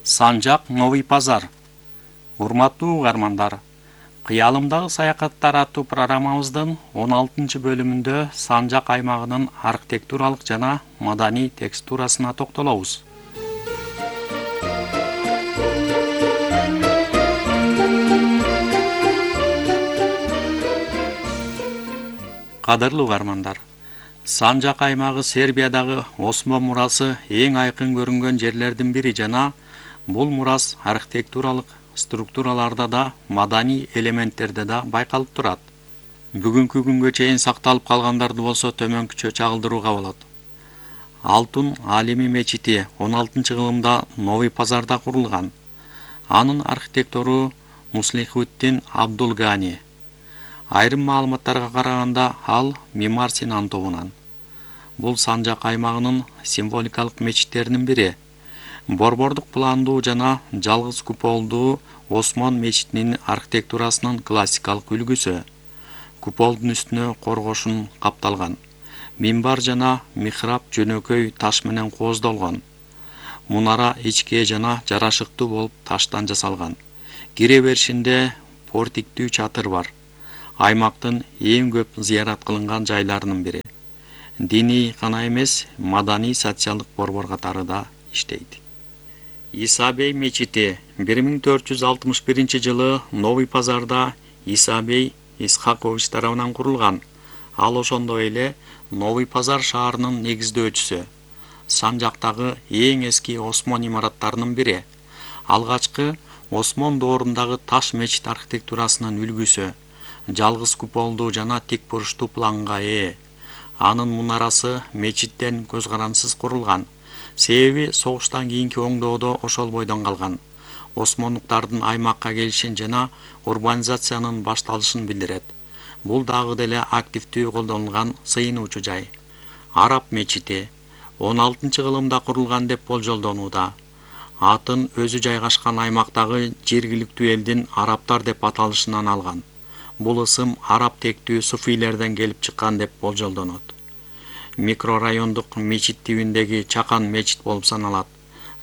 Санжак Новый Пазар. Урматтуу угармандар, Кыялымдагы саякаттар аттуу программабыздын 16-бөлүмүндө Санжак аймагынын архитектуралык жана маданий текстурасына токтолобуз. Кадырлуу угармандар, Санжак аймагы Сербиядагы Осмон мурасы эң айкын көрүнгөн жерлердин бири жана бул мурас архитектуралык структураларда да, маданий элементтерде да байкалып турат. Бүгүнкү күнгө чейин сакталып калгандарды болсо төмөнкүчө чагылдырууга болот. Алтын Алими мечити 16-кылымда Новый Пазарда курулган. Анын архитектору Муслихуддин Абдулгани. Айрым маалыматтарга караганда ал Мимар Синан тобунан. Бул Санжак аймагынын символикалык мечиттеринин бири. Борбордук пландуу жана жалгыз куполдуу Осмон мечитинин архитектурасынын классикалык үлгүсү. Куполдун үстүнө коргошун капталган. Минбар жана михраб жөнөкөй таш менен кооздолгон. Мунара ичке жана жарашыктуу болуп таштан жасалган. Кире беришинде портиктүү чатыр бар. Аймактын эң көп зыярат кылынган жайларынын бири. Диний гана эмес, маданий социалдык борбор катары да иштейт. Исабей мечити 1461-жылы Новый Пазарда Исабей Исхакович тарабынан курулган. Ал ошондой эле Новый Пазар шаарынын негиздөөчүсү. Санжактагы эң эски Осмон имараттарынын бири. Алгачкы Осмон доорундагы таш мечит архитектурасынын үлгүсү. Жалгыз куполдуу жана тик буруштуу планга ээ. Анын мунарасы мечиттен көз карансыз курулган. Себеби согуштан кийинки оңдоодо ошол бойдон калган. Осмондуктардын аймакка келишин жана урбанизациянын башталышын билдирет. Бул дагы деле активдүү колдонулган сыйынуучу жай. Араб мечити 16-кылымда курулган деп болжолдонууда. Атын өзү жайгашкан аймактагы жергиликтүү элдин арабтар деп аталышынан алган. Бул ысым араб тектүү суфийлерден келип чыккан деп болжолдонот. Микрорайондук мечит тибиндеги чакан мечит болуп саналат.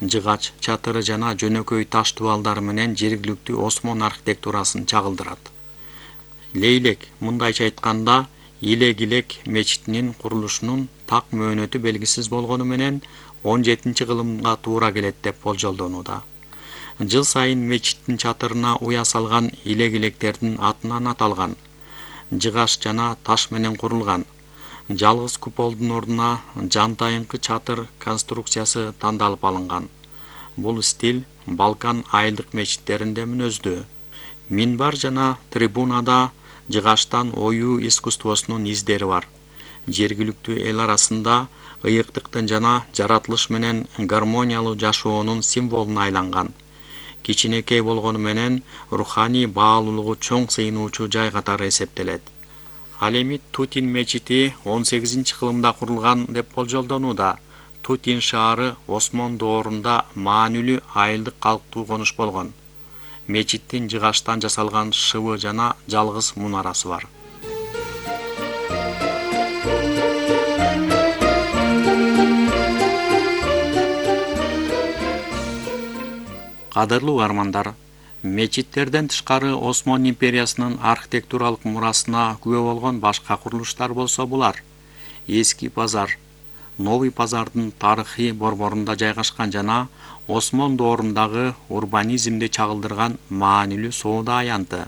Жыгач, чатыры жана жөнөкөй таш дубалдары менен жергиликтүү Осмон архитектурасын чагылдырат. Лейлек, мындайча айтканда, Илек-Илек мечитинин курулушунун так мөөнөтү белгисиз болгону менен 17-кылымга туура келет деп болжолдонууда. Жыл сайын мечиттин чатырына уя салган илек-илектердин атынан аталган. Жыгаш жана таш менен курулган. Жалгыз куполдун ордуна жантайыңкы чатыр конструкциясы тандалып алынган. Бул стиль Балкан айылдык мечиттеринде мүнөздүү. Минбар жана трибунада жыгаштан оюу искусствосунун издери бар. Жергиликтүү эл арасында ыйыктыктын жана жаратылыш менен гармониялуу жашоонун символуна айланган. Кичинекей болгону менен руханий баалуулугу чоң сыйынуучу жай катары эсептелет. Ал эми Тутин мечити 18-кылымда курулган деп болжолдонууда. Тутин шаары Осмон доорунда маанилүү айылдык калктуу конуш болгон. Мечиттин жыгаштан жасалган шыбы жана жалгыз мунарасы бар. Кадырлуу угармандар, мечиттерден тышкары Осмон империясынын архитектуралык мурасына күбө болгон башка курулуштар болсо булар: Эски Пазар, Новый Пазардын тарыхый борборунда жайгашкан жана Осмон доорундагы урбанизмди чагылдырган маанилүү соода аянты.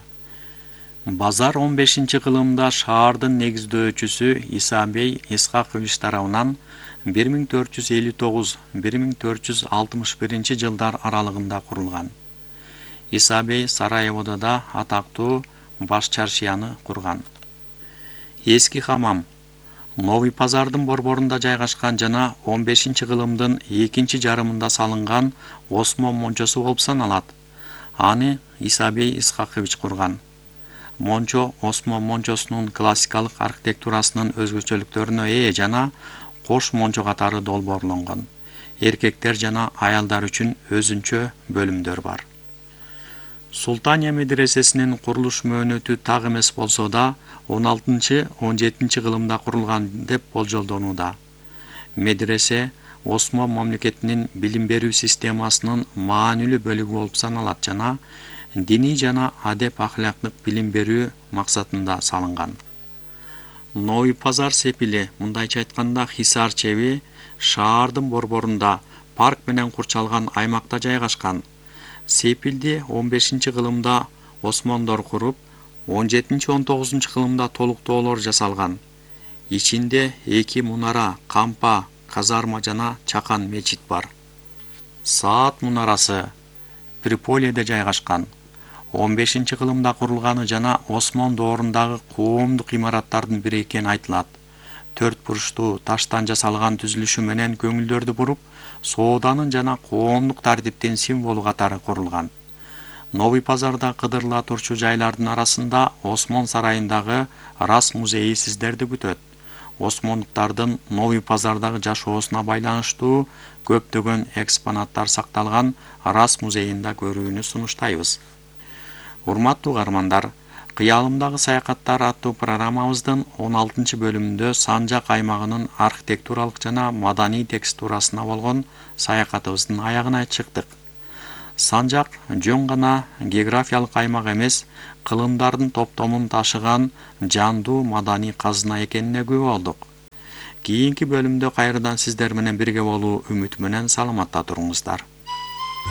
Базар 15-кылымда шаардын негиздөөчүсү Исабей Исхакович тарабынан 1459-1461 жылдар аралыгында курулган. Исабей Сараеводо да атактуу баш чаршияны курган. Эски хамам Новый Пазардын борборунда жайгашкан жана 15-кылымдын экинчи жарымында салынган Осмон мончосу болуп саналат. Аны Исабей Исхакович курган. Мончо Осмон мончосунун классикалык архитектурасынын өзгөчөлүктөрүнө ээ жана кош мончо катары долбоорлонгон. Эркектер жана аялдар үчүн өзүнчө бөлүмдөр бар. Султания медресесинин курулуш мөөнөтү так эмес болсо да 16-17 кылымда курулган деп болжолдонууда. Медресе Осмон мамлекетинин билим берүү системасынын маанилүү бөлүгү болуп саналат жана диний жана адеп ахлактык билим берүү максатында салынган. Новый Пазар сепили, мындайча айтканда Хисар чеби, шаардын борборунда парк менен курчалган аймакта жайгашкан. Сепилди 15-кылымда осмондор куруп, 17-19 кылымда толуктоолор жасалган. Ичинде 2 мунара, кампа, казарма жана чакан мечит бар. Саат мунарасы Триполиде жайгашкан. 15-кылымда курулганы жана Осмон доорундагы коомдук имараттардын бири экени айтылат. 4 бурчтуу таштан жасалган түзүлүшү менен көңүлдөрдү буруп, сооданын жана коомдук тартиптин символу катары курулган. Новый Пазарда кыдырыла турчу жайлардын арасында Осмон сарайындагы Рас музейи сиздерди күтөт. Осмондуктардын Новый Пазардагы жашоосуна байланыштуу көптөгөн экспонаттар сакталган Рас музейинда көрүүнү сунуштайбыз. Урматтуу каармандар, Кыялымдагы саякаттар аттуу программабыздын 16-бөлүмүндө Санжак аймагынын архитектуралык жана маданий текстурасына болгон саякатыбыздын аягына чыктык. Санжак жөн гана географиялык аймак эмес, кылымдардын топтомун ташыган жандуу маданий казына экенине күбө болдук. Кийинки бөлүмдө кайрадан сиздер менен бирге болуу үмүтү менен саламатта туруңуздар.